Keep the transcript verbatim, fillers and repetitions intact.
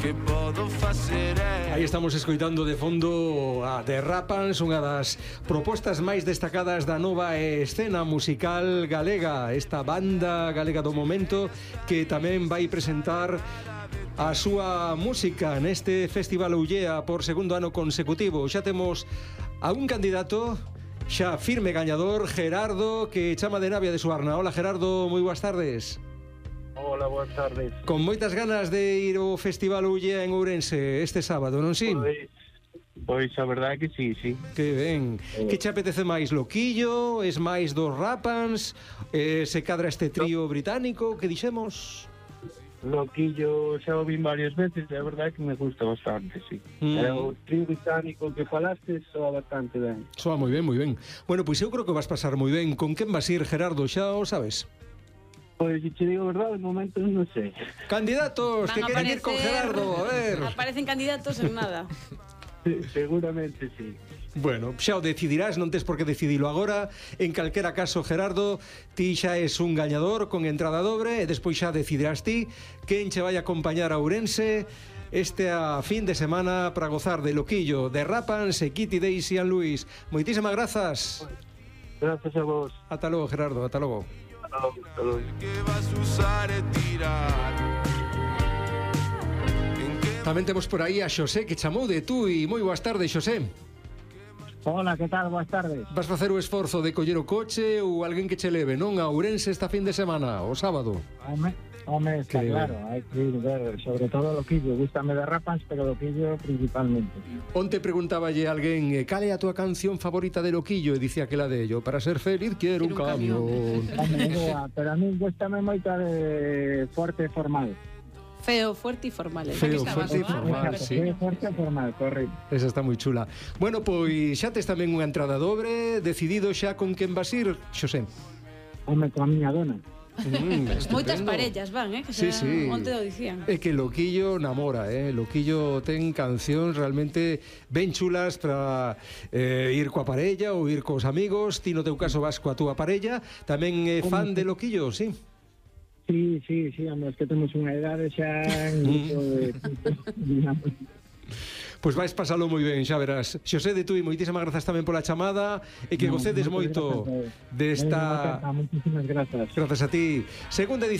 que podo facer é... Aí estamos escoitando de fondo a The Rapans, unha das propostas máis destacadas da nova escena musical galega, esta banda galega do momento que tamén vai presentar a súa música neste Festival Ullea por segundo ano consecutivo. Xa temos a un candidato xa firme gañador, Gerardo, que chama de Navia de Suarna. Hola Gerardo, moi boas tardes. Hola, boas tardes. Con moitas ganas de ir ao Festival Ullea en Ourense este sábado, non si? Pois, pois a verdade é que sí, sí. Que ben. Eh. Que che apetece máis, Loquillo? Es máis dos Rapans? Eh, se cadra este trío británico que dixemos? Loquillo xa o vin varias veces e a verdade é que me gusta bastante, sí. Mm. Mm. O trío británico que falaste soa bastante ben. Soa moi ben, moi ben. Bueno, pois eu creo que vas pasar moi ben. Con quen vas ir, Gerardo? Xa o sabes? Pois, se che digo a verdade, de momento non sei. Candidatos que Van a queren ir con aparecer- Gerardo, a ver. Aparecen candidatos en nada. Sí, seguramente sí. Bueno, xa o decidirás, non tes por que decidilo agora. En calquera caso, Gerardo, ti xa es un gañador con entrada dobre e despois xa decidirás ti quen che vai a acompañar a Ourense este a fin de semana para gozar de Loquillo, de Rapans e Kitty Daisy and Luis. Moitísimas grazas. Gracias a vos. Ata logo, Gerardo, ata logo. Hasta logo, hasta logo. que vas usar e tirar. Tamén temos por aí a Xosé que chamou de tú e moi boas tardes, Xosé. Hola, que tal? Boas tardes. Vas facer o esforzo de coller o coche ou alguén que che leve, non? A Ourense esta fin de semana, o sábado. Home, home está Que- claro, hai que ir ver, sobre todo Loquillo. Gústame de Rapans, pero Loquillo principalmente. Onte preguntaballe a alguén eh, cal é a túa canción favorita de Loquillo e dicía que la de ello, para ser feliz quiero un Quiero un camión. camión. Home, boa, pero a mí gústame moito a de Fuerte e Formal. Feo, fuerte e formal. esa Feo, que estaba fuerte e boa. formal. Exacto, sí. Feo, Fuerte e Formal, correcto. Esa está moi chula. Bueno, pois xa tes tamén unha entrada dobre, decidido xa con quen vas ir, Xosé. Home, coa miña dona. Mm, Moitas estupendo. parellas van, eh? Que Sí, xa sí. onte o dicían. É que Loquillo namora, eh? Loquillo ten cancións realmente ben chulas para eh, ir coa parella ou ir cos amigos. Ti no teu caso vas coa túa parella. Tamén é fan de Loquillo, sí? Sí, sí, sí, home, es que temos unha idade xa en grupo de... digamos. Pois vais pasalo moi ben, xa verás. Xosé de Tui, moitísimas grazas tamén pola chamada e que No, gocedes moitas moito grazas, eh. desta... Venga, Moitísimas grazas. Grazas a ti. Segunda edición